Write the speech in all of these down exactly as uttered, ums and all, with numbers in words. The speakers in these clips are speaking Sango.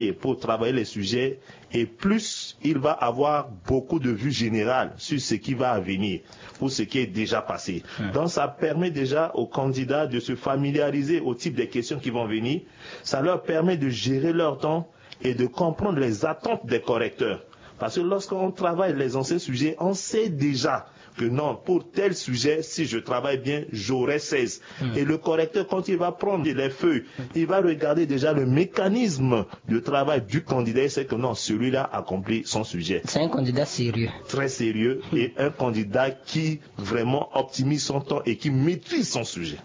et pour travailler les sujets, et plus il va avoir beaucoup de vues générales sur ce qui va venir ou ce qui est déjà passé. Donc ça permet déjà aux candidats de se familiariser au type de questions qui vont venir. Ça leur permet de gérer leur temps et de comprendre les attentes des correcteurs. Parce que lorsqu'on travaille les anciens sujets, on sait déjà que non, pour tel sujet, si je travaille bien, j'aurai seize. Et le correcteur, quand il va prendre les feuilles, il va regarder déjà le mécanisme de travail du candidat. Il sait que non, celui-là accomplit son sujet. C'est un candidat sérieux. Très sérieux et un candidat qui vraiment optimise son temps et qui maîtrise son sujet.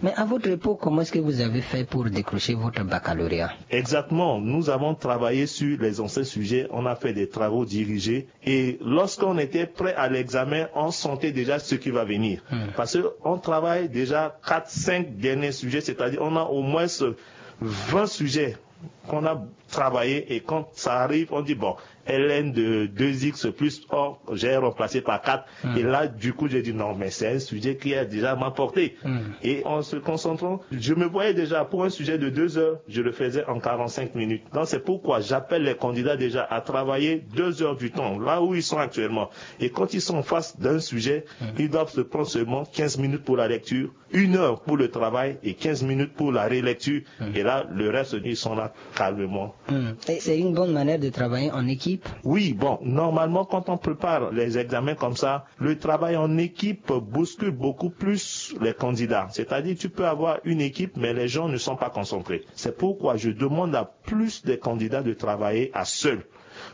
Mais à votre époque, comment est-ce que vous avez fait pour décrocher votre baccalauréat? Exactement. Nous avons travaillé sur les anciens sujets. On a fait des travaux dirigés. Et lorsqu'on était prêt à l'examen, on sentait déjà ce qui va venir. Parce qu'on travaille déjà quatre, cinq derniers sujets, c'est-à-dire on a au moins vingt sujets qu'on a travaillé et quand ça arrive, on dit, bon, L N de deux X plus, or, j'ai remplacé par quatre. Et là, du coup, j'ai dit, non, mais c'est un sujet qui est déjà à ma portée. Et en se concentrant, je me voyais déjà pour un sujet de deux heures, je le faisais en quarante-cinq minutes. Donc, c'est pourquoi j'appelle les candidats déjà à travailler deux heures du temps, là où ils sont actuellement. Et quand ils sont en face d'un sujet, ils doivent se prendre seulement quinze minutes pour la lecture, une heure pour le travail et quinze minutes pour la relecture. Et là, le reste, ils sont là calmement. Et c'est une bonne manière de travailler en équipe. Oui, bon, normalement, quand on prépare les examens comme ça, le travail en équipe bouscule beaucoup plus les candidats. C'est-à-dire, tu peux avoir une équipe, mais les gens ne sont pas concentrés. C'est pourquoi je demande à plus des candidats de travailler à seul.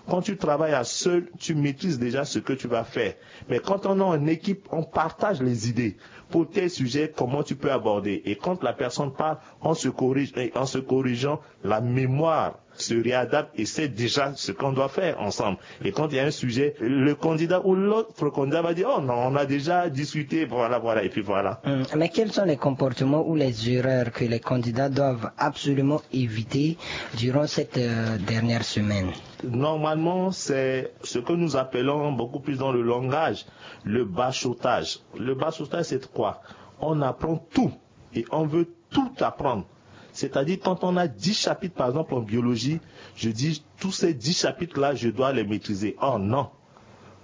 Quand tu travailles à seul, tu maîtrises déjà ce que tu vas faire. Mais quand on est en équipe, on partage les idées. Pour tel sujet, comment tu peux aborder. Et quand la personne parle, on se corrige. Et en se corrigeant, la mémoire se réadapte et sait déjà ce qu'on doit faire ensemble. Et quand il y a un sujet, le candidat ou l'autre candidat va dire, oh non, on a déjà discuté, voilà, voilà, et puis voilà. Mais quels sont les comportements ou les erreurs que les candidats doivent absolument éviter durant cette euh, dernière semaine? Normalement, c'est ce que nous appelons beaucoup plus dans le langage le bachotage. Le bachotage, c'est quoi? On apprend tout et on veut tout apprendre. C'est-à-dire, quand on a dix chapitres, par exemple, en biologie, je dis, tous ces dix chapitres-là, je dois les maîtriser. Oh non.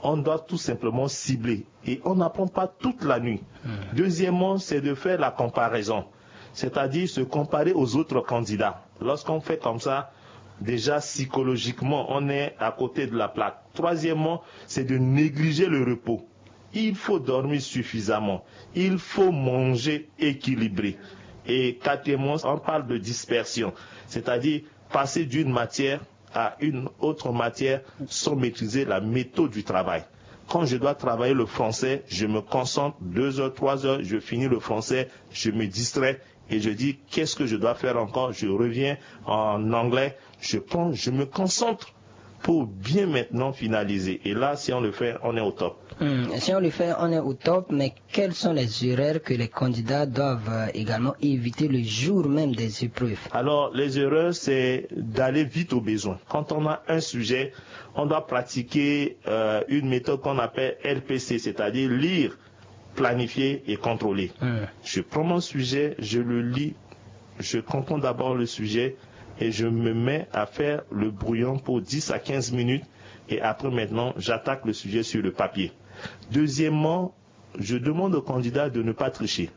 On doit tout simplement cibler. Et on n'apprend pas toute la nuit. Deuxièmement, c'est de faire la comparaison. C'est-à-dire se comparer aux autres candidats. Lorsqu'on fait comme ça, déjà psychologiquement, on est à côté de la plaque. Troisièmement, c'est de négliger le repos. Il faut dormir suffisamment. Il faut manger équilibré. Et quatrièmement, on parle de dispersion, c'est-à-dire passer d'une matière à une autre matière sans maîtriser la méthode du travail. Quand je dois travailler le français, je me concentre deux heures, trois heures, je finis le français, je me distrais et je dis, qu'est-ce que je dois faire encore? Je reviens en anglais, je prends, je me concentre pour bien maintenant finaliser. Et là, si on le fait, on est au top. Hmm, si on le fait, on est au top, mais quelles sont les erreurs que les candidats doivent euh, également éviter le jour même des épreuves? Alors, les erreurs, c'est d'aller vite au besoin. Quand on a un sujet, on doit pratiquer euh, une méthode qu'on appelle L P C, c'est-à-dire lire, planifier et contrôler. Je prends mon sujet, je le lis, je comprends d'abord le sujet et je me mets à faire le brouillon pour dix à quinze minutes et après maintenant, j'attaque le sujet sur le papier. Deuxièmement, je demande aux candidats de ne pas tricher.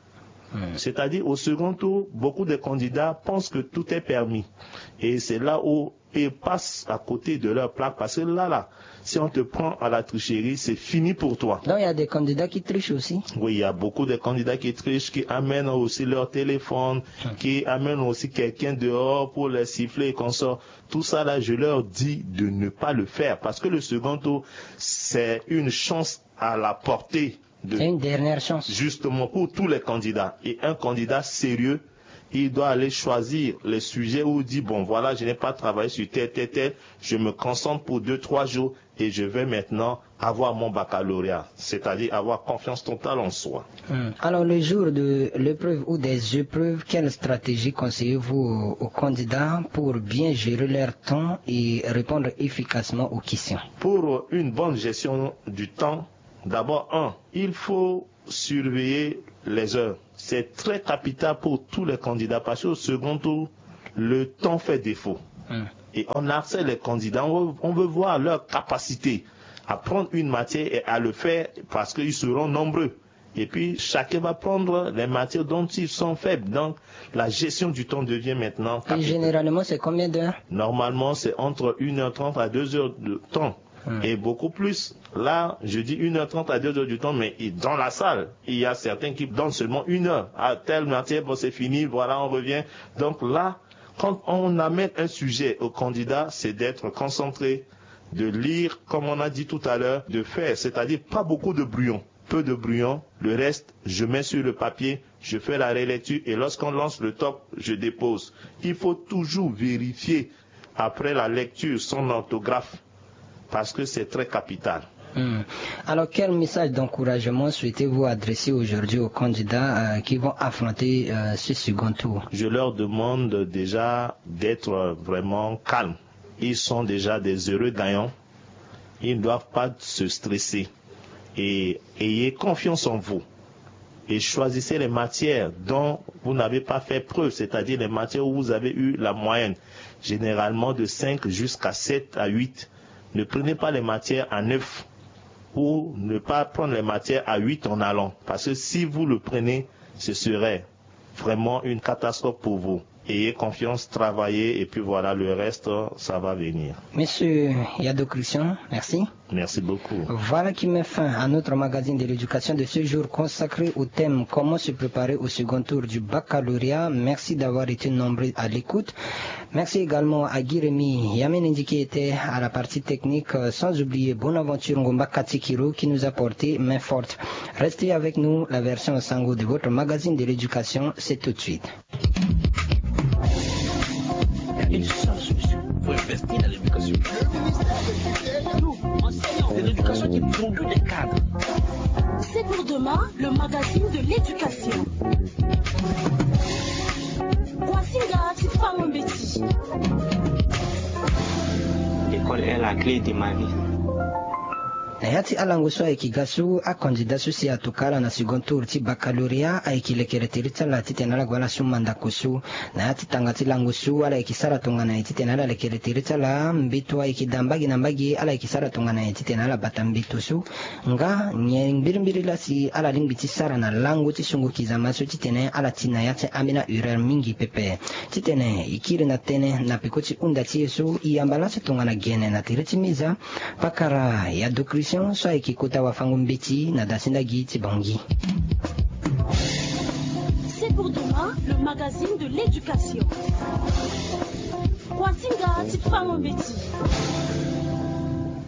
C'est-à-dire, au second tour, beaucoup de candidats pensent que tout est permis. Et c'est là où ils passent à côté de leur plaque. Parce que là, là, si on te prend à la tricherie, c'est fini pour toi. Donc, il y a des candidats qui trichent aussi. Oui, il y a beaucoup de candidats qui trichent, qui amènent aussi leur téléphone, qui amènent aussi quelqu'un dehors pour les siffler et consorts. Tout ça, là, je leur dis de ne pas le faire. Parce que le second tour, c'est une chance à la portée de... C'est une dernière chance. Justement, pour tous les candidats. Et un candidat sérieux, il doit aller choisir les sujets où il dit, bon, voilà, je n'ai pas travaillé sur tel, tel, tel. Je me concentre pour deux, trois jours et je vais maintenant avoir mon baccalauréat, c'est-à-dire avoir confiance totale en soi. Hmm. Alors, le jour de l'épreuve ou des épreuves, quelle stratégie conseillez-vous aux, aux candidats pour bien gérer leur temps et répondre efficacement aux questions? Pour une bonne gestion du temps, d'abord, un, il faut surveiller les heures. C'est très capital pour tous les candidats parce qu'au second tour, le temps fait défaut. Hmm. Et on harcèle les candidats, on veut, on veut voir leur capacité à prendre une matière et à le faire parce qu'ils seront nombreux. Et puis, chacun va prendre les matières dont ils sont faibles. Donc, la gestion du temps devient maintenant capitale. Et généralement, c'est combien d'heures ? Normalement, c'est entre une heure trente à deux heures de temps. Hmm. Et beaucoup plus. Là, je dis une heure trente à deux heures du temps, mais dans la salle, il y a certains qui donnent seulement une heure. À telle matière, bon, c'est fini, voilà, on revient. Donc là, quand on amène un sujet au candidat, c'est d'être concentré, de lire, comme on a dit tout à l'heure, de faire, c'est-à-dire pas beaucoup de brouillon, peu de brouillon. Le reste, je mets sur le papier, je fais la relecture et lorsqu'on lance le top, je dépose. Il faut toujours vérifier après la lecture son orthographe parce que c'est très capital. Hmm. Alors, quel message d'encouragement souhaitez-vous adresser aujourd'hui aux candidats, euh, qui vont affronter, euh, ce second tour ? Je leur demande déjà d'être, euh, vraiment calmes. Ils sont déjà des heureux gagnants. Ils ne doivent pas se stresser. Et ayez confiance en vous. Et choisissez les matières dont vous n'avez pas fait preuve, c'est-à-dire les matières où vous avez eu la moyenne, généralement de cinq jusqu'à sept à huit. Ne prenez pas les matières à neuf ou ne pas prendre les matières à huit en allant. Parce que si vous le prenez, ce serait vraiment une catastrophe pour vous. Ayez confiance, travaillez et puis voilà, le reste, ça va venir. Monsieur Yado Christian, merci. Merci beaucoup. Voilà qui met fin à notre magazine de l'éducation de ce jour consacré au thème comment se préparer au second tour du baccalauréat. Merci d'avoir été nombreux à l'écoute. Merci également à Guy Rémy Yamenendi qui était à la partie technique, euh, sans oublier Bonaventure Ngomba Katikiro qui nous a porté main forte. Restez avec nous, la version Sango de votre magazine de l'éducation, c'est tout de suite. Il y a une seule solution pour investir dans l'éducation. Nous, enseignants, c'est l'éducation qui produit des cadres. C'est pour demain, le magazine de l'éducation. Kwasinga ti fango mbeti. L'école est la clé de ma vie. Na ya ti alango so ayeke ga so akandida so si atuka ala na second tour ti baccalauréat ayeke lekere tere ti ala titene ala gue ala su mandako so. Na ya ti tanga ti lango so ala yeke sara tongana nyen titene ala lekere tere ti ala mbeto ayeke daa mbage na mbage ala yeke sara tongana nyen titene ala bata mbeto so. Nga nyen mbirimbiri laa si ala lingbi ti sara na lango ti sungo kizama so titene ala ti na ya ti ambeni ahureur mingi pepe. Titene e kiri na tënë na peko ti hunda ti e so e yamba laso tongana gene na tere ti meza. Pakara Yado Christian so ayeke kota wafango mbeti na dasinda gi ti Bangui. C'est pour demain, le magazine de l'éducation. Kwasinga ti fango mbeti.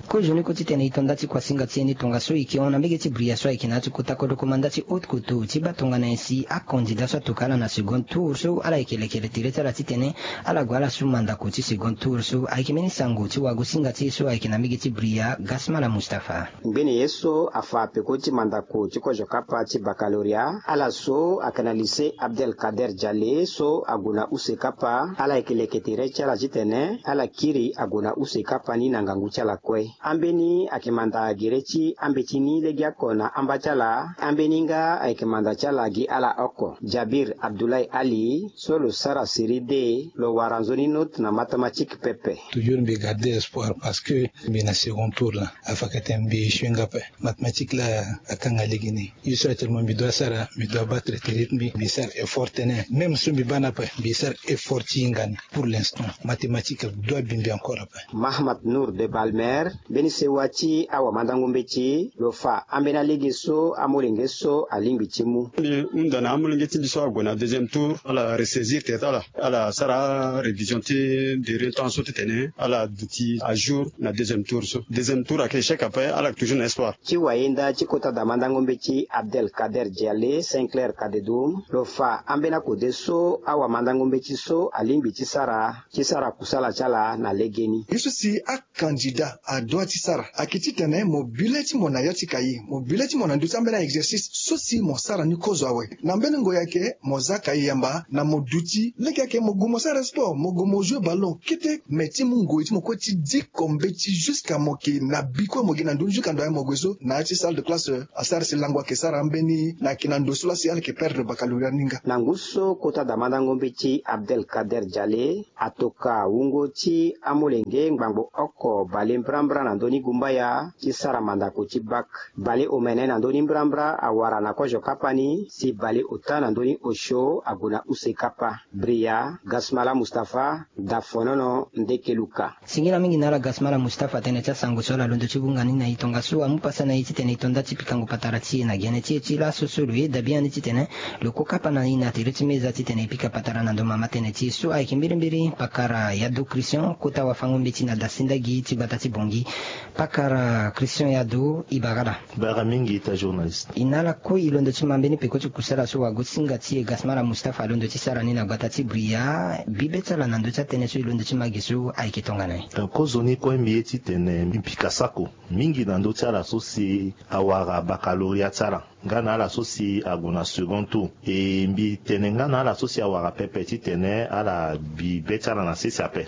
Kozoni ko titene e to nda ti kwasinga ti e ni tongaso e yeke hon na mbege ti bria so ayeke na ya ti kota kodro komanda ti haute couture ti baa tongana nyen si akandida so atuka ala na second tour so ala yeke lekere tere ti ala titene ala gue ala su mandako ti second tour so ayeke mbeni sango ti wagosinga ti e so ayeke na mbege ti bria Gasmala Mustapha. Ngbene ye so afa peko ti mandako ti kozo kapa ti baccalauréat ala so ayeke na lycée Abdel Kader Diale so ague na use kapa ala yeke leke tere ti ala titene ala kiri ague na use kapa ni na ngangu ti ala kue. Ambeni ayeke manda gere ti ambeti ni legeoko na amba ti ala. Ambeni nga ayeke manda ti ala gi ala oko Jabir Abdoulaye Ali so lo sara série D. Lo wara nzoni note na mathématique pepe. Toujours mbi garder espoir parce que mbi na second tour laa. Afa kete mbi échoué nga ape. Mathématique laa akanga lege ni. Ye so actuellement mbi doit sara, mbi doit battre tere ti mbi. Mbi sara effort tene. Même so mbi baa ni ape mbi sara effort ti hinga ni. Pour l'instant mathématique doit bimbi encore ape. Mahmat Nour de Balmer, mbeni sewa ti awamandango mbeti, lo fa ambeni alege so amolenge so alingbi ti mu. Mbi hunda na amolenge ti mbi so ague na deuxième tour ala ressaisir tere ti ala, ala sara révision ti deuxième temps so titene ala duti à jour na deuxième tour so. Deuxième tour ayeke échec ape, ala yeke toujours na espoir. Ti wayenda ti kota damandango mbeti Abdel Kader Diale, Saint Clair Kadedoum, lo fa ambeni akode so awamandango mbeti so alingbi ti sara ti sara kusala ti ala na legeni. Ye so si akandida ado Ti sara ayeke titene mo bi le ti mo na ya ti kaye, mo bi le ti mo na ndö ti ambeni a-exercice so si mo sara ni kozo awe. Na mbeni ngoi ayeke mo za kaye yamba na mo duti lege ayeke mo gue mo sara sport, mo gue mo joue ballon kete. Me ti mu ngoi ti mo kue ti diko mbeti jusqu'à mo yeke na bi kue mo gi na ndö ni jusqu'à ndo aye mo gue so na ya ti salle de classe. Asara si lango ayeke sara ambeni na yeke na ndo so laa si ala yeke perdre baccalauréat ni nga. Na ngu so kota damandango mbeti Abdelkader Diale atoka wungo ti amolenge ngbangbo oko bale mbrambra na ndö ni gumbaya ti sara mandako ti bac. Bale omene na ndö ni mbrambra awara na kozo kapa ni si bale ota na ndö ni osio ague na use kapa. Bria Gasmala Mustapha, Dafonono, Ndekeluka. Singila mingi na ala Gasmala Mustapha tënë ti asango so ala londo ti bunga ni na e tongaso amu pasa na e titene e to nda ti pikango patara ti e na gene ti e ti laso so lo ye da biani titene lo ko kapa na e na tere ti meza titene e pika patara na ndo mama tënë ti e so ayeke mbirimbiri pakara Yado Christian kota wafango-mbeti na dasendagi ti gbata ti Bongi. Pakara Christian Yado, e bara ala. Bara mingi ita journaliste. E na ala kue e londo ti ma mbeni peko ti kusala so wago singa ti e Gasmala Mustapha alondo ti sara ni na gbata ti Bria. Bibe ti ala na ndö ti atënë so e londo ti ma ge so ayeke tongana nyen? Kozo ni kue mbi ye titene mbi pika sako mingi na ndö ti ala so si awara baccalauréat ti ala nga na ala so si ague na second tour. E mbi tene nga na ala so si awara pepe titene ala bi be ti ala na sese ape.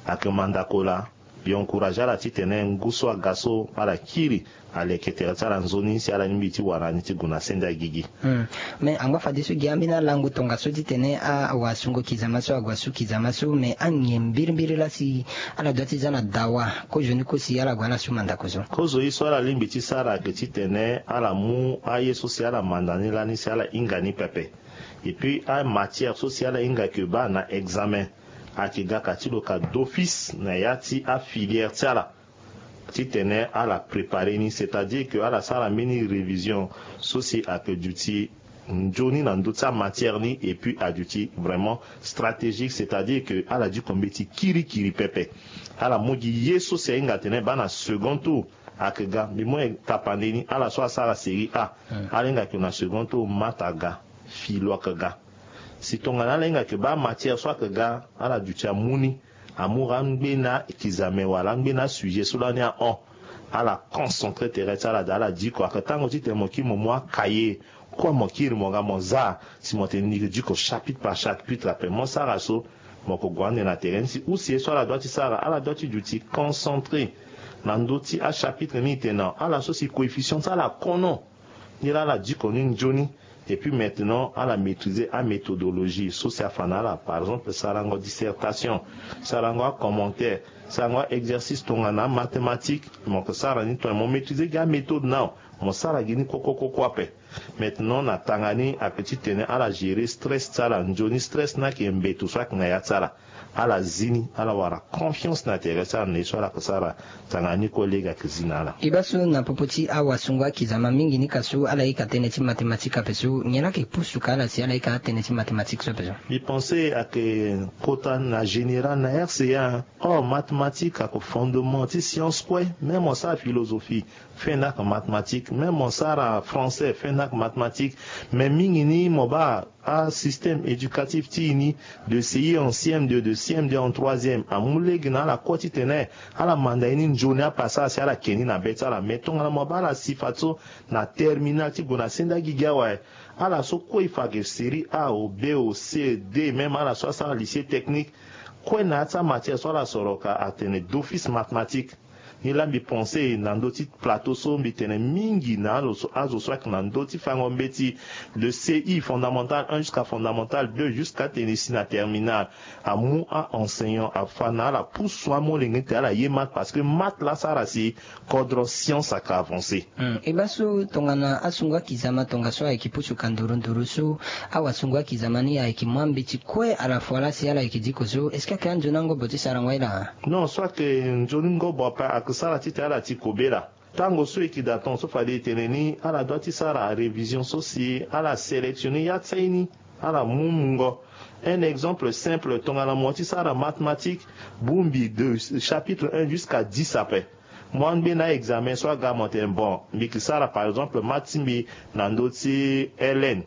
Ayeke mandako laa. Mbi encourage ala titene ngu so aga so ala kiri aleke tere ti ala nzoni si ala lingbi ti wara ni ti gue na sende agigi. Hmm. Me angba fadeso gi ambeni alango tongaso titene awasungo kizama so ague asu kizama so me anyen mbirimbiri laa si ala dua ti za na dawa kozo ni kue si ala gue ala su mandako so? Kozo ye so ala lingbi ti sara ayeke titene ala mu aye so si ala manda ni lani si ala hinga ni pepe. Et puis amatière so si ala hinga yeke baa na examen ayeke ga ka ti lo ka d'office na ya ti afilière ti ala. Titene ala prépare ni c'est-à-dire que ala sara mbeni révision so si ayeke duti nzoni na ndö ti amatière ni et puis aduti vraiment stratégique c'est-à-dire que ala diko mbeti kirikiri pepe. Ala mu gi ye so si ahinga atene baa na second tour ayeke ga mbi mu tapande ni ala so asara série A ala hinga yeke na second tour mata aga filo ayeke ga. Si tongana ala hinga yeke baa amatière so ayeke ga ala duti amu ni amu angbe na kizame wala angbe na sujet so lani ahon. Ala concentré tere ti ala daa ala diko ayeke tango titene mo kiri mo mu akaye kue mo kiri mo ga mo za si mo tene ni yeke diko chapitre par chapitre ape mo sara so. Mo yeke gue ande na tere ni si use ye so ala dua ti sara ala dua ti duti concentré na ndö ti achapitre ni e tene na ala so si coefficient ti ala kono. Nilaa ala diko ni nzoni. Et puis maintenant ala maîtriser améthodologie so si afa na ala par exemple sarango dissertation, sarango acommentaire, sarango aexercice tongana amathématique. Mo yeke sara ni tongana mo maîtriser gi améthode nao mo sara gi ni koko koko ape. Maintenant na tanga ni ayeke titene ala gérer stress ti ala nzoni stress ni ayeke mbeto so ayeke na ya ti ala. Ala zi ni ala wara confiance na tere ti ala na ye so ala yeke sara. Tanga ni kue lege ayeke zi na ala. E baa so na popo ti awasungo akizama mingi ni ka so ala yeke atene ti mathématique ape so nyen laa ayeke pusu ka ala si ala yeke atene ti mathématique so ape so? Mbi pense ayeke kota na général na rca. Or mathématique ayeke fondement ti science kue même mo sara philosophie. Fende ayeke mathématique même mo sara français fende ayeke mathématique. Mais mingi ni mo baa asystème éducatif ti e ni de cei en cm deux de cm deux en troisième amu lege na ala kue titene ala manda ye ni nzoni apasara si ala ke ni na be ti ala mais tongana mo baa ala si fadeso na terminal ti gue na sende agigi awe. Ala so kue e fa ayeke série A o B o C D même ala so asara lycée technique kue na ya ti amatière so ala soro ka atene d'office mathématique. Ni laa mbi pense na ndö ti plateau so mbi tene mingi na azo so ayeke na ndö ti fango mbeti de ci fondamental un jusqu'à fondamental deux jusqu'à tene si na terminal amu a-enseignant afa na ala pusu amolenge ti ala ye math parce que math laa asara si kodro science ayeke avance. E baa so tongana asungo akizama tongaso ayeke pusu ka nduru nduru so awasungo akizama ni ayeke mu ambeti kue ala fo ala si ala yeke diko so est-ce que ayeke anzoni angobo ti sarango aye laa? Non so ayeke nzoni ngobo ape ayeke sara titene ala ti kobela. Tango so e yeke daa tongaso fade e tene ni ala dua ti sara révision so si ala sélectionner ya ti aye ni. Ala mu mungo un exemple simple tongana mo ti sara mathématique bongbi de chapitre un jusqu'à dix ape. Mo angbe na examen so aga mo tene bon mbi yeke sara par exemple math ti mbi na ndö ti ln.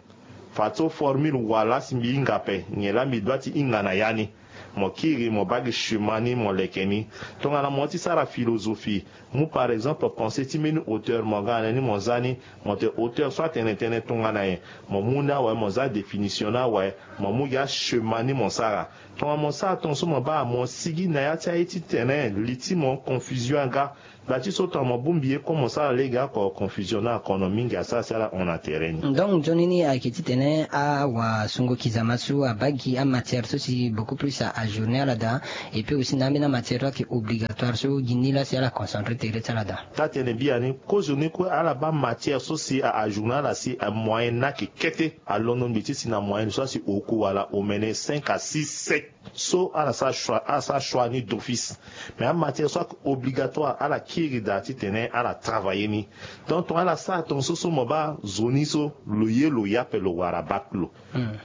Fadeso formule wala si mbi hinga ape nyen laa mbi dua ti hinga na ya ni. mo kiri mo baa gi chemin ni mo leke ni. Tongana mo ti sara philosophie, mu par exemple pensée ti mbeni auteur mo ga na ni mo za ni, mo tene auteur so atene tënë tongana nyen. Mo mu ni awe mo za définition ni awe, mo mu gi achemin ni mo sara. Tongana mo sara tongaso mo baa mo sigi na ya ti aye titene li ti mo confusion aga. Gba ti so tongana mo bongbi ye comme mo sara lege oko confusion ni akono mingi asara si ala hon na tere ni. Donc nzoni ni ayeke titene awasungo kizama so abaa gi amatière so si beaucoup plus a ajourner ala daa. Et puis aussi na ambeni amatière so ayeke obligatoire so gi ni laa si ala concentré tere ti ala daa. Taa-tënë biani kozoni kue ala baa matière so si a ajourner ala si amoyen ni ayeke kete. Alondo ngbi ti si na moyenne so asi oku wala omene cinq à six, sept. So ala sara choix ala sara choix ni d'office. Mais amatière so ayeke obligatoire ala kiri daa titene ala travailler ni. Donc tongana ala sara tongaso so mo baa zo ni so lo ye lo ye ape lo wara bac lo.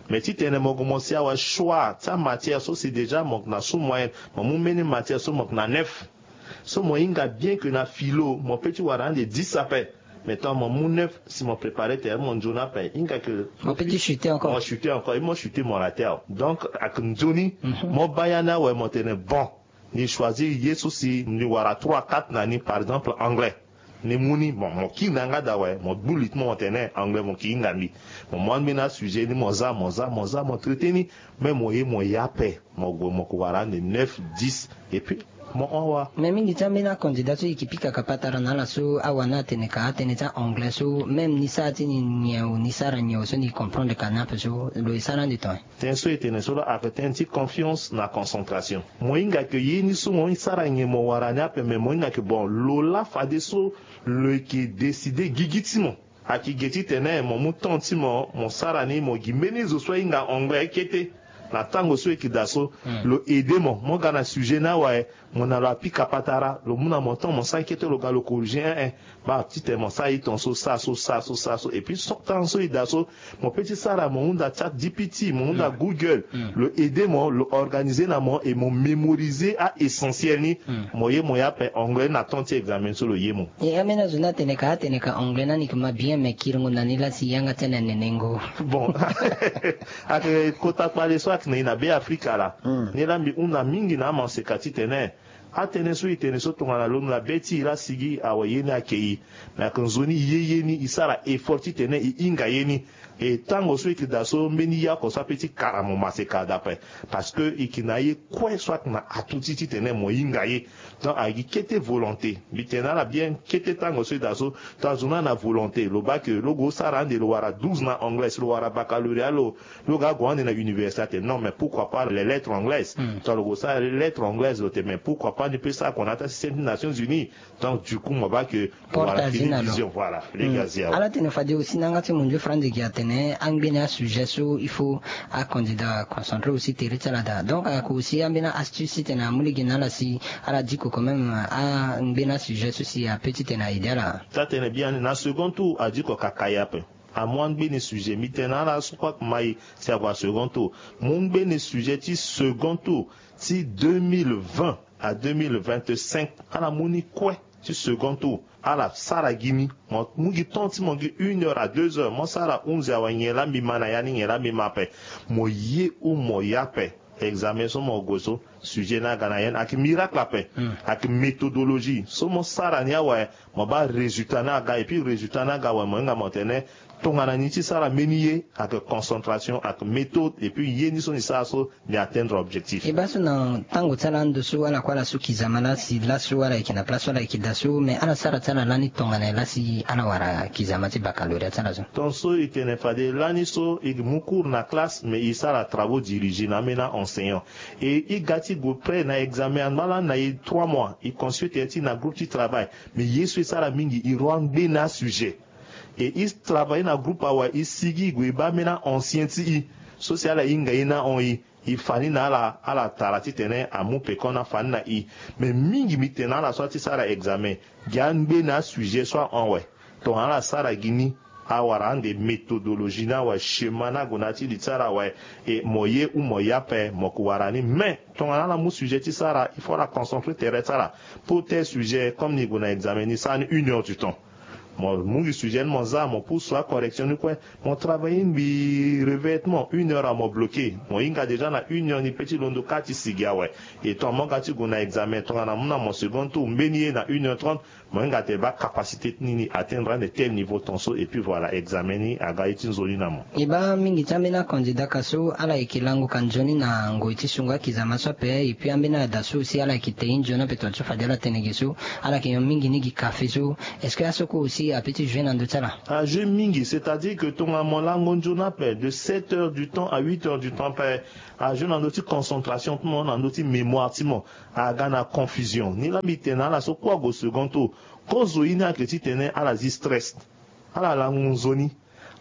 Mais titene mo gue mo si awe choix ti amatière so si déjà mo yeke na sous moyenne, mo mu mbeni matière so mo yeke na neuf. So mo hinga bien que na philo mo pe ti wara ande dix ape. Mais tant mo mu neuf si mo préparer tere mo nzoni ape hinga que mo pe ti chuter encore mo chuter encore et mo chuter mo rater awe. Donc ayeke nzoni mo baa ya ni awe mo tene bon, ni choisir ye so si ni wara trois quatre na ni par exemple anglais. Ni mu ni bon mo kiri na yanga daa awe mo gbu li ti mo mo tene anglais mo ke hinga mbi. Mo mu ambeni asujet ni mo za mo za mo za mo traiter ni. Mais mo ye mo ye ape. Mo gue mo ke wara ande neuf, dix. Et puis mo hon awa. Mais mingi ti ambeni acandidat so e ke pika ka patara na ala so awa ni atene ka atënë ti a-anglais so même ni sara ti ni nyen o ni sara nyen o so ni comprendre ka ni ape so lo e sara ande tongaso. Tënë so e tene so laa ayeke tënë ti confiance na concentration. Mo hinga ke ye ni so mo sara nyen mo wara ni ape mais mo hinga ke bon lo laa fadeso lo yeke décider gigi ti mo. Ayeke ge titene mo mu temps ti mo mo sara ni mo gi mbeni zo so ahinga anglais kete. Na tango so e yeke daa so lo aider mo mo ga na sujet ni awe. Mo na lo apika patara lo mu na mo temps mo sara kete lo ga lo corriger un un. Baa titene mo sara ye tongaso sara so sara so sara so et puis so temps so e daa so mo pe ti sara mo hunda chat gpt mo hunda google. Lo aider mo lo organiser na mo et mo mémoriser a-essentiel ni. Mo ye mo ye ape anglais na temps ti examen so lo ye mo. E ambeni azo ni atene ka atene ka anglais ni ayeke ma bien mais kiringo na ni laa si yanga ti ala nenengo. Bon. Ayeke kota kpale so ayeke na e na be afrika laa. Ni laa mbi hunda mingi na amaseka titene atënë so e tene so tongana lo na be ti e laa sigi awe ye ni ayeke e. Me ayeke nzoni e ye ye ni e sara effort titene e hinga ye ni. E tango so e yeke daa so mbeni ye oko so ape ti kara mo maseka dape. Parce que e yeke na aye kue so ayeke na atu ti titene mo hinga ye. Donc ayeke gi kete volonté. Mbi tene na ala bien kete tango so e daa so. Tongana zo ni ana volonté lo baa ke lo gue lo sara ande lo wara douze na anglais lo wara baccalauréat lo lo ga ague ande na université atene non mais pourquoi pas les lettres anglaises. Tongana lo gue lo sara lettres anglaises lo tene mais pourquoi pas ni pe sara kona ti asystème ti nations unies. Donc du coup mo baa ke porte wala azi na lo. Vision voilà. Lege azi awe. Ala tene fade aussi na yanga ti mondio franz ege atene angbeni asujet so il faut acandidat concentré aussi tere ti ala daa donc ayeke aussi ambeni aastuce titene amu lege na ala si ala diko quand même angbeni asujet so si ape titene a-aider ala. Taa-tënë biani na second tour adiko kaka ye ape. Amu angbeni sujet mbi tene na ala so kue ayeke ma e si ague na second tour. Mu ngbeni sujet ti second tour ti deux mille vingt à deux mille vingt-cinq. Ala mu ni kue ti second tour. Ala sara gi ni mo mu gi temps ti mo gi une heure à deux heures mo sara hunzi awe nyen laa mbi ma na ya ni nyen laa mbi ma ape. Mo ye ou mo ye ape. Examen so mo gue so sujet ni aga na ya ni ayeke miracle ape. Ayeke méthodologie so mo sara ni awe. Mo baa résultat ni aga et puis résultat ni aga awe mo hinga mo tene tongana ni ti sara mbeni ye ayeke concentration ayeke méthode et puis ye ni so ni sara so ni atteindre objectif. E baa so na tango ti ala ando so ala kue ala su kizama laa si laso ala yeke na place so ala yeke daa so mais ala sara ti ala lani tongana laa si ala wara kizama ti baccalauréat ti ala so. Tongaso e tene fade lani so e mu cours na classe mais e sara travaux dirigés na ambeni a-enseignant. E e ga ti gue près na examen angba lani na e trois mois e consulte ti na groupe ti travail. Mais ye so e sara mingi e roi ngbeni asujet. E e travailler na groupe awe e sigi e gue e baa ambeni a-ancien ti e so si ala hinga ye ni ahon e. E fa ni na ala ala tara titene amu pekoni afa ni na e. Mais mingi mbi tene na ala so ati sara examen gi angbeni asujet so ahon awe. Tongana ala sara gi ni awara ande méthodologie ni awe chemin ni ague na ya ti li ti ala awe. E mo ye ou mo ye ape mo ke wara ni mais tongana ala mu sujet ti sara il faut ala concentre tere ti ala. Pour tel sujet comme ni gue na examen ni sara ni une heure du temps. Mo mu gi sujet ni mo za, mo pusu acorrection ni kue. Mo travail ni mbi réveil ti mo une heure, amo bloqué. Mo hinga déjà na une heure ni pe ti londo kâ ti sigi awe. Et ton amo ga ti gue na examen tongana amu na mo second tour mbeni ye na une heure trente, mo hinga tene baa capacité ti ni ni atteindre ande tel niveau ton so. Et puis voilà, examen ni aga ye ti nzoni na mo. E baa mingi ti ambeni acandidat ka so ala yeke lango ka nzoni na ngoi ti sungo akizama so ape. Et puis ambeni ada so aussi ala yeke te ye nzoni ape, tonga ti so fade ala tene ge so, ala yeke nyon mingi ni gi kafe so. Est-ce que aso kue aussi ape ti jouer na ndö ti ala? Ajouer mingi, c'est-à-dire que tongana mo lango nzoni ape de sept heures du temps à huit heures du temps ape, ajouer na ndö ti concentration ti mo, na ndö ti mémoire ti mo. Aga na confusion. Ni laa mbi tene na ala so kue ague second tour, kozo ye ni ayeke titene ala zi stress, ala lango nzoni,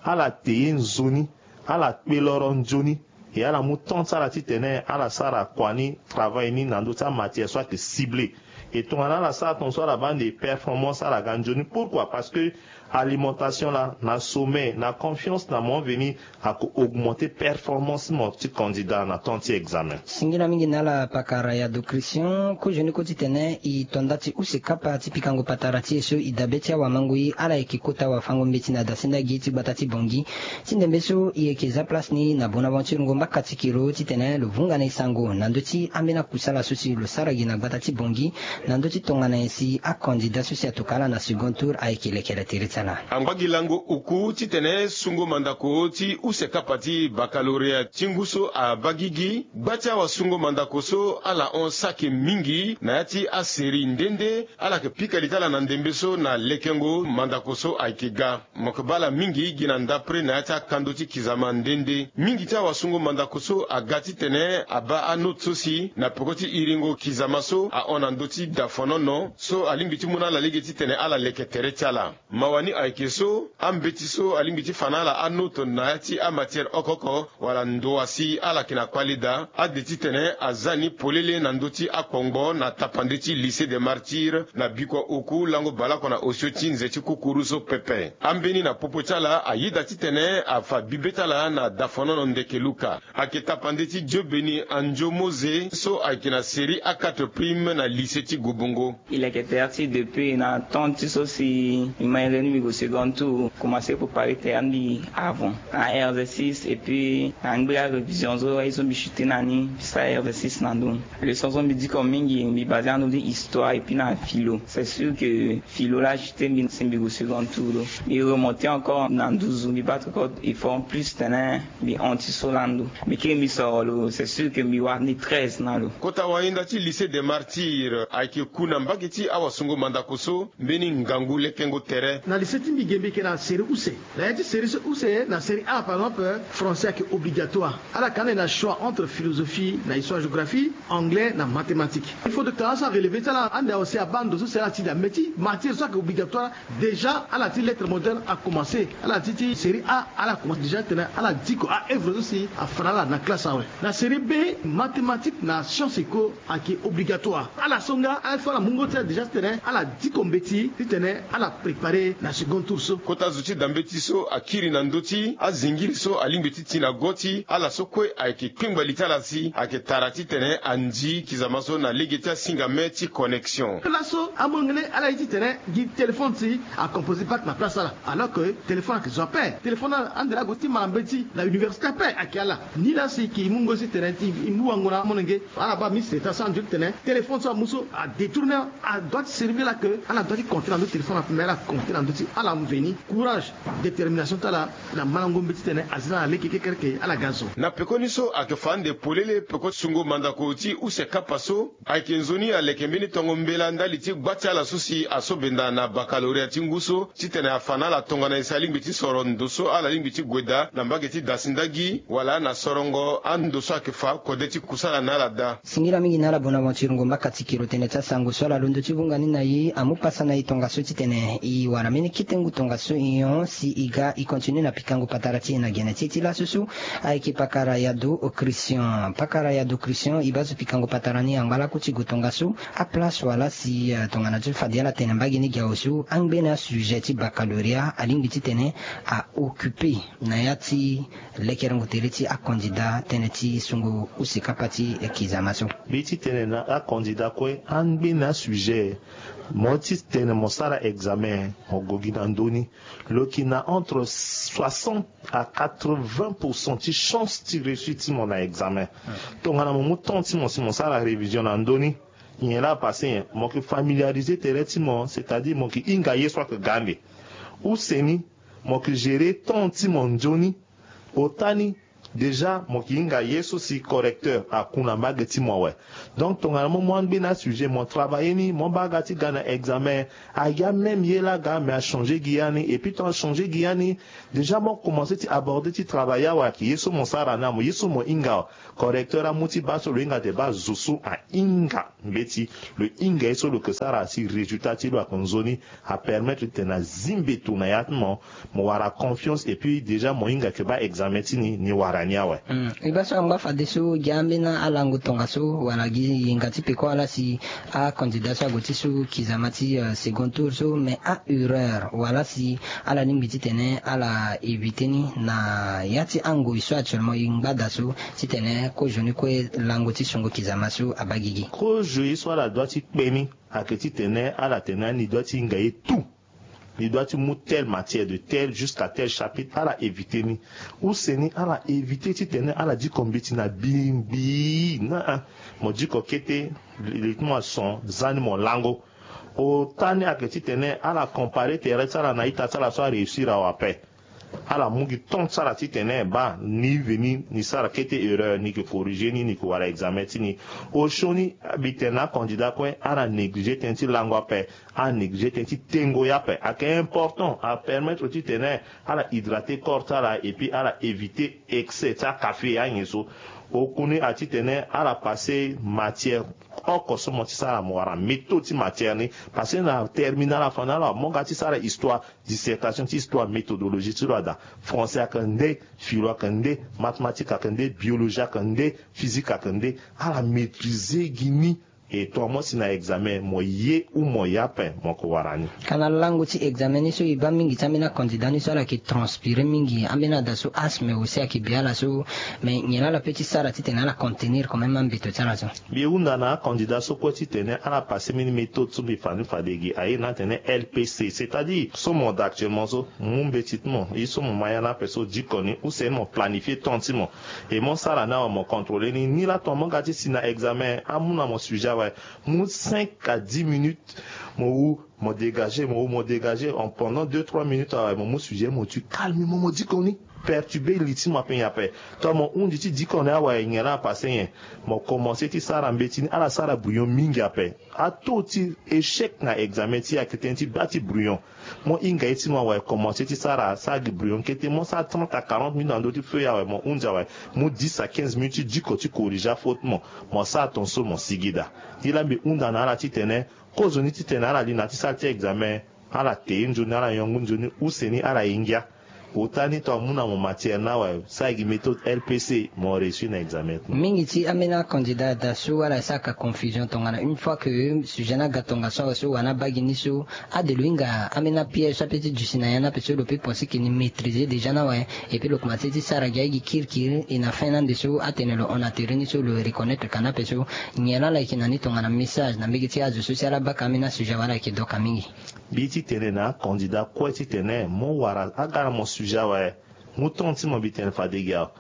ala te ye nzoni, ala kpe loro nzoni. E ala mu temps ti ala titene ala sara kua ni, travail ni na ndö ti amatière so ayeke ciblé. E tongana ala sara ton so ala baa ande performance, ala ga nzoni. Pourquoi? Parce que alimentation laa, na sommeil, na confiance na mo veni, ako augmenter performance ti mo ti candidat na temps ti examen. Singila mingi na ala pakara Yado Christian. Kozoni kue titene e to nda ti use kapa ti pikango patara ti e so e dabe ti awamangoi, ala yeke kota wafango-mbeti na dasinda gi ti gbata ti Bangui. Ti ndembe so e yeke za place ni na Bonaventure Ngomba Katikiro titene lo vunga na e sango na ndö ti ambeni akusala so si lo sara gi na gbata ti Bangui, na ndö ti tongana nyen si acandidat so si atokua ala na second tour ayeke lekere tere ti ala. Angba gi lango oku titene sungo mandako ti use kapa ti baccalauréat ti ngu so abaa gigi. Gba ti awasungo mandako so ala hon saki mingi na ya ti asérie nde nde. Ala yeke pika li ti ala na ndembe so na lekengo mandako so ayeke ga. Mo yeke baa ala mingi gi na ndapre na ya ti akando ti kizama nde nde. Mingi ti awasungo mandako so aga titene abaa anote so si na peko ti iringo kizama so ahon na ndö ti dafonono so alingbi ti mu na ala lege titene ala leke tere ti ala. Mawa ni ayeke so, ambeti so alingbi ti fa na ala anote na ya ti amatière oko oko wala ndoa si ala yeke na kpale daa, ade titene aza ni polele na ndö ti akpongbo na tapande ti Lycée des Martyrs na bikua oku lango baleoko na osio ti nze ti kukuru so pepe. Ambeni na popo ti ala ayeda titene afa bibe ti ala na dafonono ndeke luka. Ayeke tapande ti Dieu Béni Andio Mose so ayeke na série A quatre prime na lycée ti Gobongo. E leke tere ti e depuis na temps ti so si mbi ma ere ni mbi gue second tour, commencer préparer tere ti mbi avant na R V six, et puis na ngbe arévision so aye so mbi chuter na ni, mbi sara R V six na ndö ni. Leçon so mbi diko mingi, mbi baser na ndö ti histoire et puis na philo. C'est sûr que philo laa achuter mbi si mbi gue second tour do. Mbi remonter encore na nduzu, mbi battre encore effort plus titene mbi hon ti so laa ndo. Mbi kiri mbi soro lo, c'est sûr que mbi wara ni treize na lo. Kota wahinda ti Lycée des Martyrs ayeke ku na mbage ti awasungo mandako so mbeni ngangu lekengo tere. Na lycée ti mbi ge mbi yeke na série use. Na ya ti série so use, na série A par exemple, français ayeke obligatoire. Ala yeke ande na choix entre philosophie na histoire-géographie, anglais na mathématique. Il faut de temps so arelever ti ala ande aussi abaa ndo so si ala ti da mbeti matière so ayeke obligatoire. Déjà ala ti lettres modernes acommencer, ala ti ti série A, ala commencer déjà titene ala diko aœuvre so si afa na ala na classe awe. Na série B, mathématiques na sciences éco ayeke obligatoire. Ala so nga, ala so ala mu ngo ti ala déjà titene ala diko mbeti titene ala préparer na second tour so. Kota zo ti da mbeti so akiri na ndö ti azingiri so alingbi ti ti na go ti ala so kue ayeke kpengba li ti ala si ayeke tara titene anzi kizama so na lege ti asingame ti connexion. Laso amolenge ni ala ye titene gi téléphone si acomposer bac na place ala. Alors que téléphone ayeke zo ape. Téléphone ande laa ague ti ma na mbeti na université ape ayeke ala. Ni laa si e yeke mu ngo ti tene ti e mu wango na amolenge. Ala baa mi seta so anzoni tene téléphone so amu so adétourner. Adoit ti servir ala ke ala doit ti compter na ndö ti téléphone ape, mais ala compter na ndö ti ala mveni, courage, détermination ti ala na malango mbeti titene azi na ala lege kekereke ala ga zo. Na pekoni so ayeke fa ande polele peko sungo mandako ti use kapa so. Ayeke nzoni aleke mbeni tongo mbela ndali ti gba ti ala so si aso benda na baccalauréat ti ngu so titene afa na ala tongana nyen si alingbi ti soro ndo so ala lingbi ti gue daa na mbage ti dasindagi wala na sorongo ando so ayeke fa kode ti kusala na ala daa. Singila mingi na ala Bonaventure Ngomba Katikiro, tene ti asango so ala londo ti vunga ni na e amu pasa na e tongaso titene e wara mbeni kete ngu tongaso nyon si e ga e continue na pikango patara ti e na gene ti e ti laso so. Ayeke pakara Yado Christian. Pakara Yado Christian, e baa so pikango patara ni angba lakue ti gue tongaso. Aplace wala si, eh, tongana ti fade ala tene mbage ni gi awe so angbene asujet ti baccalauréat alingbi titene a occuper na ya ti lekerengo tere ti acandidat tënë ti sungo use kapa ti kizama so. Mbi ti tene na acandidat kue angbene asujet. Mo ti tene mo sara examen, mo gue gi na ndö ni. Lo yeke na entre soixante à quatre-vingts pour cent ti chance ti réussir ti mo na examen. Tongana mo mu temps ti mo si mo sara révision na ndö ni, nyen laa passé nyen? Mo yeke familiariser tere ti mo, c'est-à-dire mo yeke hinga ye so ayeke ga ande. Use ni, mo yeke gérer temps ti mo nzoni. Ota ni, déjà mo yeke hinga ye so si correcteur aku na mbage ti mo awe. Donc tongana mo mu angbe na asujet, mo travailler ni, mo baa aga ti ga na examen, aya même ye laa aga, mais achanger gi ya ni. Et puis tant achanger gi ya ni, déjà mo commencer ti aborder ti travail awe, ayeke ye so mo sara ni, amo ye so mo hinga awe. Correcteur amu ti baa so lo hinga ate baa zo so ahinga mbeti, lo hinga ye so lo yeke sara si résultat ti lo ayeke nzoni. Apermettre ti tene azi mbeto na ya ti mo, mo wara confiance, et puis déjà mo hinga yeke baa examen ti ni, ni wara ni awe. Hmm. E baa so angba fadeso gi ambeni alango tongaso wala gi yenga ti peko ala si acandidat so ague ti so kizama ti, euh, second tour so, mais a-erreur wala si ala lingbi ti tene ala éviter ni na ya ti angoi so actuellement e ngba daa so, ti tene kozo ni kue lango ti sungo kizama so abaa gigi. Kozo ye so ala doit ti kpe ni ayeke ti tene ala tene ni doit ti hinga ye tout. Ni doit ti mu telle matière de tel jusqu'à tel chapitre, ala éviter ni. Use ni ala éviter ti tene ala diko mbeti na bimbi. Na, ah, mo diko kete, li ti mo ason, za ni mo lango. Ota ni ayeke ti tene ala comparer tere ti ala na ita ti ala so aréussir awe ape. Ala mu gi temps ti ala ti tene baa ni veni ni sara kete erreur, ni yeke corriger ni, ni yeke wara examen ti ni. Osioni mbi tene acandidat kue ala négliger tënë ti lango ape, ala négliger tënë ti tengo ye ape. Ayeke important, apermettre ti tene ala hydrater corps ti ala, et puis ala éviter excès ti akafe anyen so. Okuni ati tene ala passer matière oko so mo ti sara, mo wara méthode ti matière ni. Parce que na terminal afa na ala mo ga ti sara histoire, dissertation ti histoire, méthodologie ti lo ada. Français ayeke nde, philo ayeke nde, mathématique ayeke nde, biologie ayeke nde, physique ayeke nde. Ala maîtriser gi ni. Et toi, mo si na examen, mo ye ou mo ye ape, mo ko wara ni. Kana lango ti examen ni so e baa mingi ti ambeni acandidat ni so ala yeke transpirer mingi, ambeni ada so asthme aussi ayeke bi ala so, mais nyen laa ala peut ti sara ti tene ala contenir quand même ambeto ti ala so? Mbi hunda na acandidat so kue ti tene ala passer mbeni méthode so mbi fa ni fade gi aye ni atene L P C, c'est-à-dire so mo da actuellement so, mo mu mbeti ti mo, ye so mo ma ya ni ape so diko ni, use ni mo planifier temps ti mo. Et mo sara ni awe, mo contrôler ni, ni laa tongana mo ga ti si na examen, amu na mo sujet awe, mu cinq à dix minutes, mo wu, mo dégager, mo wu, mo dégager, en pendant deux trois minutes awe, mo mu sujet, mo tui calmement, mo diko ni. Perturber li ti mo ape nyen ape. Tongana mo hundi ti diko ni awe, nyen laa apasser nyen? Mo commencer ti sara mbeti ni, ala sara brouillon mingi ape. Ataux ti échec na examen ti e ayeke tënë ti baa ti brouillon. Mo hinga ye ti mo awe, commencer ti sara, sara gi brouillon kete, mo sara trente à quarante minutes na ndö ti feuille awe, mo hundi awe, mu dix à quinze minutes ti diko ti corriger afaute ti mo. Mo sara tongaso mo sigi daa. Ni laa mbi hunda na ala ti tene, kozoni ti tene ala li na ya ti salle ti examen, ala te ye nzoni, ala yongu nzoni, use ni ala ye ngia. Ota ni tongana amu na mo matière ni awe, sara gi méthode L P C, mo réussir na examen ti mo. Mingi ti ambeni acandidat daa so ala sara ka confusion tongana une fois que sujet ni aga tongaso awe so wala ni abaa gi ni so, ade lo hinga ambeni apiège so apeut ti duti na ya ni ape so lo peut penser que ni maîtriser déjà ni awe, et puis lo commencer ti sara gi aye gi kirikiri, et na fin ni ande so atene lo hon na tere ni so lo reconnaître ka ni ape so. Nyen laa ala yeke na ni tongana message na mbage ti azo so si ala baka ambeni asujet awe, ala yeke doka mingi? Mbi ti tene na acandidat kue ti tene mo wara aga na mo sujet awe, mu temps ti mo, mbi tene fade gi awe,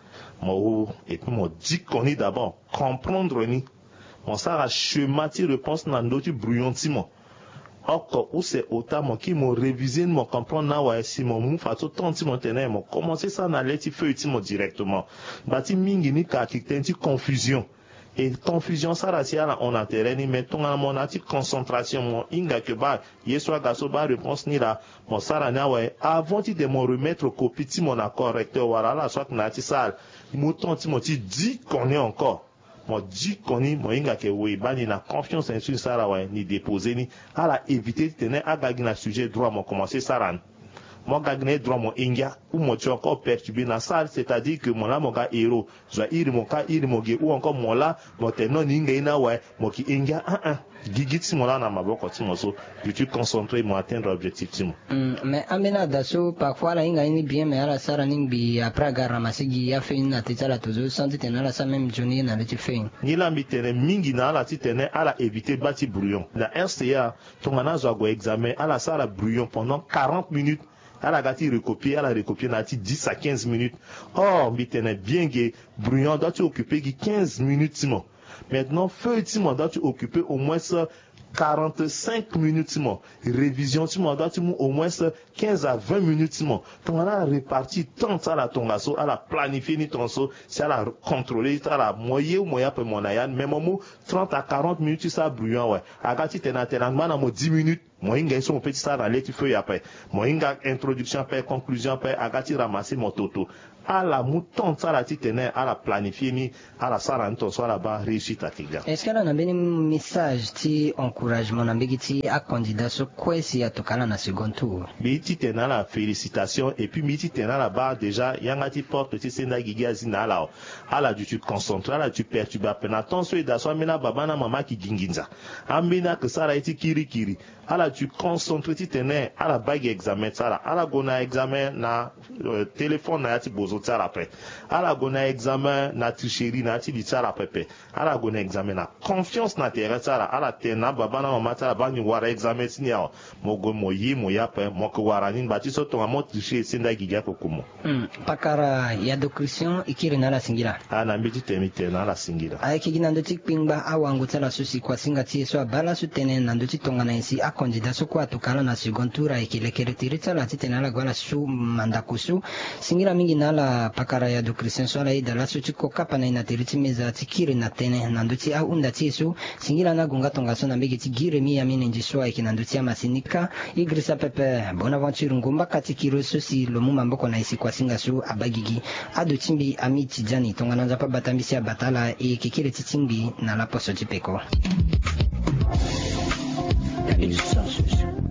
mo wu, et puis mo diko ni d'abord, comprendre ni. Mo sara schéma ti réponse na ndö ti brouillon ti mo. Oko use ota mo kiri mo réviser ni, mo comprendre ni awe, si mo mu fadeso temps ti mo tene mo commencer sara na le ti feuille ti mo directement. Ngba ti mingi ni ka ayeke tënë ti confusion. Et confusion asara si ala hon na tere ni, mais tongana mo na ya ti concentration, mo hinga yeke baa ye so aga so, baa réponse ni laa, mo sara ni awe. Avant ti tene mo remettre copie ti mo na correcteur wala ala so ayeke na ya ti salle, mu temps ti mo ti diko ni encore. Mo diko ni, mo hinga yeke wo e baa ni na confiance na ye so ni sara awe, ni déposer ni. Ala éviter ti tene aga gi na sujet droit, mo commencer sara ni. Mo ga gi na ye droit mo hinga, ou mo ti encore perturbé na salle, c'est-à-dire que mo laa mo ga héros. Zo airi mo ka iri mo ge, ou encore mo laa mo tene non ni hinga ye ni awe, mo ki hinga. Ah ah. Gigi ti mo laa na maboko ti mo so, je suis concentré, mo atteindre objectif ti mo. Hmm, mais ambeni ada so parfois ala hinga ye ni bien, mais ala sara ni ngbii, après aga ramasser gi afeuille ni na teti ala tozo, sans titene ala sara même nzoni ye na le ti feuille ni. Ni laa mbi tene mingi na ala titene ala éviter baa ti brouillon. Na R C A, tongana azo ague examen, ala sara brouillon pendant quarante minutes. Ala ga ti recopier, ala recopier na ya ti dix à quinze minutes. Or mbi tene bien ge, brouillon adoit ti occuper gi quinze minutes ti mo. Maintenant feuille ti mo adoit ti occuper au moins quarante-cinq minutes ti mo. Révision ti mo adoit ti mu au moins quinze à vingt minutes ti mo. Tongana ala répartir temps ti ala tongaso, ala planifier ni tongaso, si ala contrôler ti ala, mo ye ou mo ye ape mo na ya ni, mais mo mu trente à quarante minutes ti sara brouillon awe. Aga titene atene angba na mo dix minutes, mo hinga ye so mo peut ti sara na le ti feuille ape. Mo hinga introduction ape, conclusion ape, aga ti ramasser mo toto. Ala mu temps ti ala titene ala planifier ni, ala sara ni tongaso, ala baa réussite ayeke ga. Est-ce que ala na mbeni message ti encouragement na mbege ti acandidat so kue si atokua ala na second tour? Mbi ye titene ala félicitation, et puis mbi ye titene ala baa déjà yanga ti porte ti senda gigi azi na ala. Ala duti concentré, ala duti perturbé ape na temps so e daa so ambeni ababa na amama ayeke gi nginza. Ambeni ayeke sara ye ti kirikiri. Ala duti concentré titene ala baa gi examen ti ala. Ala gue na examen na, euh, téléphone na ya ti bozo ti ala ape. Ala gue na examen na tricherie na ya ti li ti ala pepe. Ala gue na examen na confiance na tere ti ala. Ala tene na ababa na amama ti ala baa ni wara examen ti ni awe. Mo gue mo ye mo ye ape, mo yeke wara ni. Ngba ti so tongana mo tricher, e senda gigi akoko mo. Hmm, pakara Yado Christian, e kiri na ala singila. Ah, na mbeti tene mbi tene na ala singila. Ayeke gi na ndö ti kpengba awango ti ala so si kuasinga ti e so abaa laso tënë na ndö ti tongana nyen si acandidat so kue atokua ala na second tour, ayeke lekere tere ti ala titene ala gue ala su mandako so. Singila mingi na ala pakara Yado Christian so ala yeda laso ti ko kapa na e na tere ti meza ti kiri na tënë na ndö ti ahunda ti e so. Singila na agonga tongaso na mbege ti gi Rémi Amine Nji so ayeke na ndö ti amasini kâ. E girisa pepe Bonaventure Ngombaka ti kiri so si lo mu maboko na e si kuasinga so abaa gigi. Ado ti mbi Ami Tidjani, tongana Nzapa bata mbi si abata ala, e yeke kiri ti tingbi na laposo ti peko.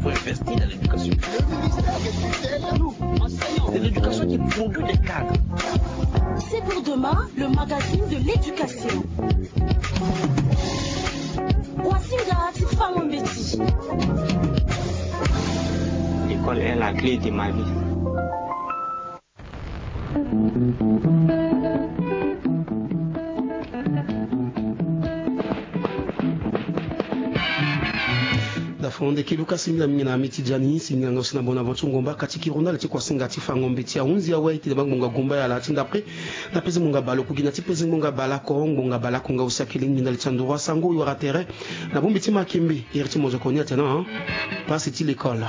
Faut investir dans l'éducation. Le ministère de tutelle. Nous, enseignants. C'est l'éducation qui produit des cadres. C'est pour demain, le magazine de l'éducation. Kuasinga ti fango mbeti. L'école est la clé de ma vie. Dafa wande ki luka singila mingi na Ami Tidjani, singila nga aussi na Bonaventure Ngombaka ti kiri na ala ti kuasinga ti fango mbeti. Ahunzi awe titene bangbonga gumba ya ala ti ndapre. Na peze ngbonga bale oku gi na ti peze ngbonga bale oko, ngbonga bale oko nga aussi akiri ngbinda li ti anduru asango e wara tere na bongbi ti makembe. Iri ti mozoko ni atene, hein? Pasi ti l'école.